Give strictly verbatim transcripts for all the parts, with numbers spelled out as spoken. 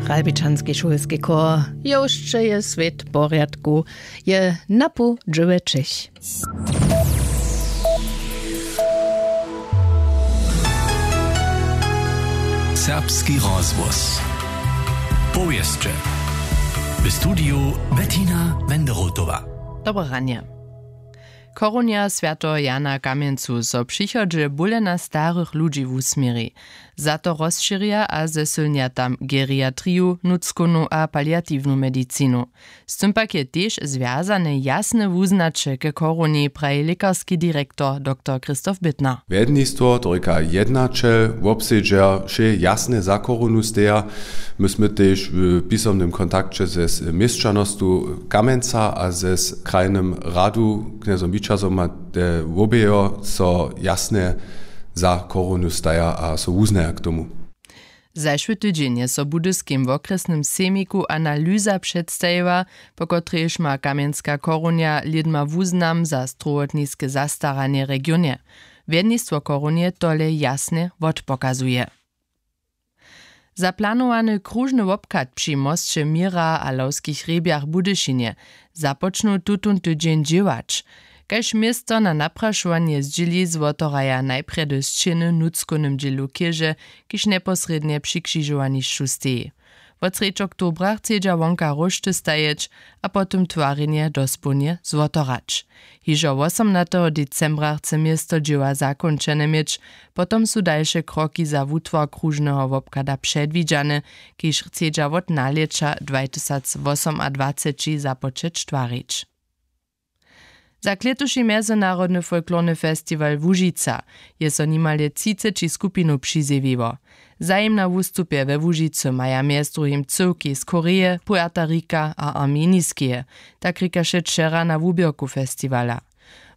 Ralbičanski šulski chór. Jewšće je swět w porjadku. Je napoł dźewjećich. Serbski rozhłos. Powěsće. W studiju Bettina Wenderotowa. Dobre ranje. Chorunja swjateho Jana w Kamjencu so w přichodźe bóle na starych ludźi wusměri. Za to rozšěrja a zesylnja tam geriatriju, nutřkownu a paliatiwnu medicinu. Z tym pak je tež zwjazane jasne wuznaće ke chorunji, praji lěkarski direktor doktor Christoph Bittner. Wjednistwo, to rěka jednaćel, wobsedźer, wšě jasne za chorunu steja. My smy tež w pisomnym kontakće ze z-, měšćanostu Kamjenca a ze z-, krajnym radu, knjezom Wićazom a te wobějo so jasne za chorunu staja a so wuznaja k tomu. Zašły tydźeń je so w Budyskim wokrjesnym sejmiku analyza předstajiła, po kotrejž ma kamjenska chorunja lědma wuznam za strowotniske zastaranje w regionje. Wjednistwo chorunje tole jasnje wotpokazuje. Za planowany króžny wobchad při mosće Měra a Lawskich hrjebjach w Budyšinje započnu tutón tydźeń dźěłać. Kaž město na naprašowanje zdźěli, zwotoraja najprjedy sćěny w nutřkownym dźělu chěže, kiž njeposrědnje při křižowanišću steji. Wot srjedź oktobra chcedźa wonka róšty stajeć a potom twarjenje dospołnje zwotorać. Hižo wosomnateho decembra chce město dźěła zakónčene měć, potom su dalše kroki za wutwar króžneho wobchada předwidźane, kiž chcedźa wot nalěća dwatysacwosomadwaceći započeć twarić. Za klětuši mjezynarodny folklorny festiwal Łužica je so nimale třiceći skupinow přizjewiło. Zajim na wustupje we Łužicy maja mjez druhim cyłki z Koreje, Puerta Rika a Armeniskeje, tak rěkaše wčera na wuběrku festiwala.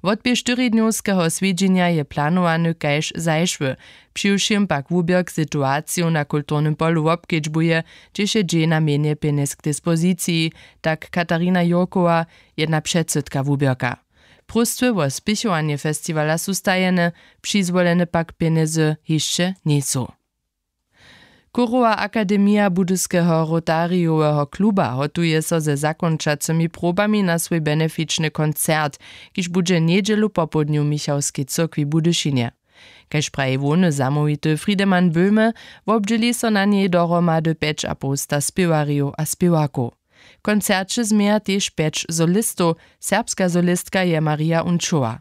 Wotběh štyridnjowskeho swjedźenja je planowany kaž zašły, přiwšěm pak wuběrk situaciju na kulturnym polu wobkedźbuje, hdźež je dźej na mjenje pjenjez k dispoziciji, tak Katarina Jurkowa, jedna předsydka wuběrka. Próstwy wo spěchowanje festiwala su stajene, přizwolene pak pjenjezy hišće njejsu. Chórowa akademija Budyskeho Rotarijoweho kluba hotuje so ze zakónčacymi probami na swój benefičny koncert, kiž budźe njedźelu popołdnju w Michałskej cyrkwi w Budyšinje. Kaž praji hłowny zamołwity Friedemann Böhme, wobdźěli so na njej dohromady pjećapołsta spěwarjow a spěwarkow. W koncerće změja tež pjeć solistow, serbska solistka je Maria Unčowa.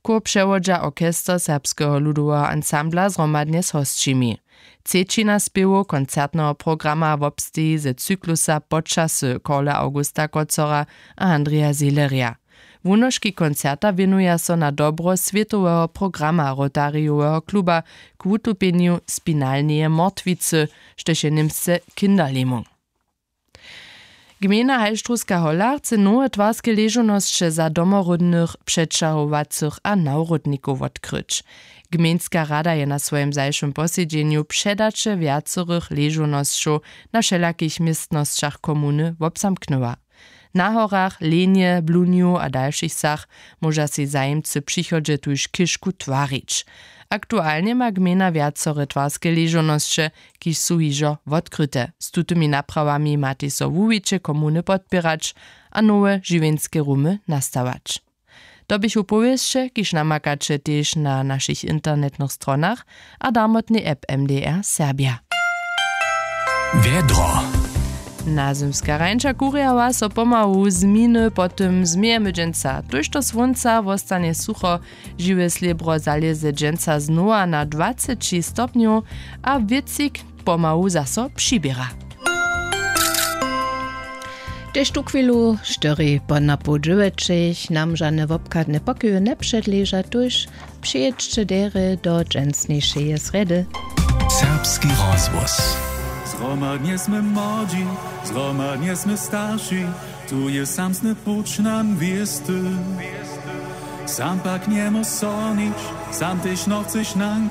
Chór přewodźa orchester Serbskeho ludoweho ansambla zhromadnje z hosćimi. Třećina spěwow koncertneho programa wobsteji ze cyklusa Počasy Karla Augusta Kocora a Andreja Seelerja. Wunoški koncerta wěnuja so na dobro swětoweho programa Rotarijoweho kluba k wutupjenju spinalneje mortwicy, štož je němsce Kinderlähmung. Gmejna Halštrowska Hola chce nowe twarske ležownosće za domoródnych, přećahowacych a nawrótnikow wotkryć. Gmejnska rada je na swojim zašłym posedźenju předaće wjacorych ležownosćow na wšelakich městnosćach komuny wobzamknyła. Na horach, Lenje, Blunju a dalšich wsach móža sej zajimcy w přichodźe tuž chěžku twarić. Aktualnje ma gmejna wjacore twarske ležownosće, kiž su hižo wotkryte. Z tutymi naprawami matej so wuwiće komuny podpěrać a nowe žiwjeńske rumy nastawać. To běchu powěsće, kiž namakaće tež na našich internetnych stronach a darmotnej app M D R Serbja. Wjedro. Nazymska rańša kurjała so pomału zminy, potom změjemy dźensa. Tójšto słónca wostanje sucho, žiwe slěbro zalěze dźensa znowa na dwaceći stopnjow a wětřik pomału zaso přiběra. Tež tuchwilu štyri po napoł dźewjećich nam žane wobchadne pokoju njepředleža, tuž přijědźće derje do dźensnišeje srjedy. Serbski rozhłos. Zhromadnje smy młodźi, zhromadnje smy starši, tu je samsny puć nam wěsty. Sam pak njemóž sonić, sam tež nochceš nam